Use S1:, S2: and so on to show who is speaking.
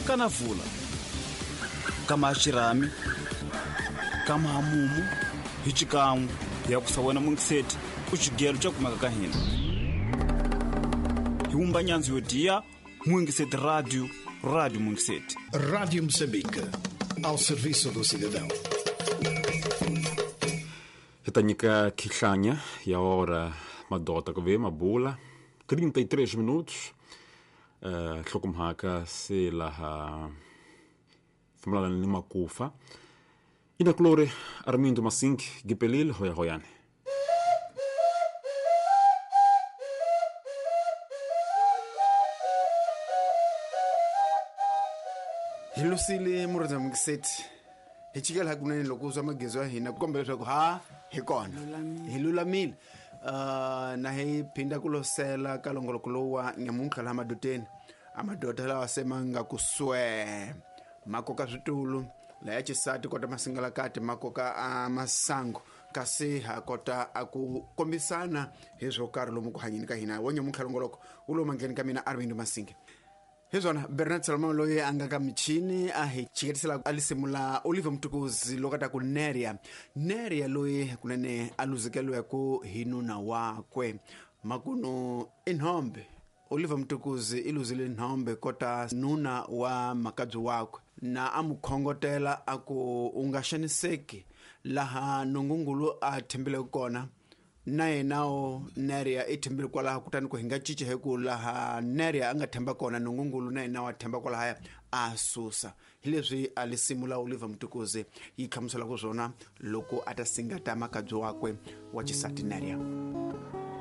S1: Kana vula. Kama xirhami, kama hamumu, hi xikan'we ya ku sa wena mungiseti u xigelo xa kumeka ka hina. Hi wumba nyandzo yo diya Mungiseti Radio, Rádio Mungiseti.
S2: Rádio Moçambique, ao serviço do cidadão.
S3: Hi ta nyika khihlanya ya ora madota ku ve mabula 33 minutos nhlokomhaka se laha fambelana ni makufa inakulori Armindo Masink gipelile hoya hoyane.
S4: Hi lusile murhandza mungiseti hi chikela hakunene loko swa magezo ya hina ku kombela leswaku ha hi kona hi lulamile. Na hi phinda ku losela ka longoloko lowu wa nyamuntlha laha madoteni a madota lawa se ma nga ku swee ma koka switulu laya xisati kota masingalakati ma koka a masangu kasi ha kota a ku kombisana hi swo karhi lomu ku hanyeni ka hina wa nyamuntlha longoloko wu lowu mandleni ka mina Arvind Masinge. Hi swona Bernard Salomon loyi a nga ka michini a hi chiketisela a lisimula Oliver Mtukuzi loko a ta ku Neria. Neria loyi kunene a luzekeliweke hi nuna wakwe makunu i nhombe. Oliver Mtukuzi i luzile nhombe kota nuna wa makabyi wakwe na a mu khongotela a ku u nga xaniseki laha nungungulu a thembeleke kona na yenawo Neria i thembile kwalaho kutani ku hi nga cinci hi ku laha Neria a nga themba kona nungungulu na yena wa themba kwalahaya a susa. Hi leswi a lisimu la Oliver Mtukuzi yi hlamuselaka swona loko a ta singata makabyi wakwe wa xisati Neria.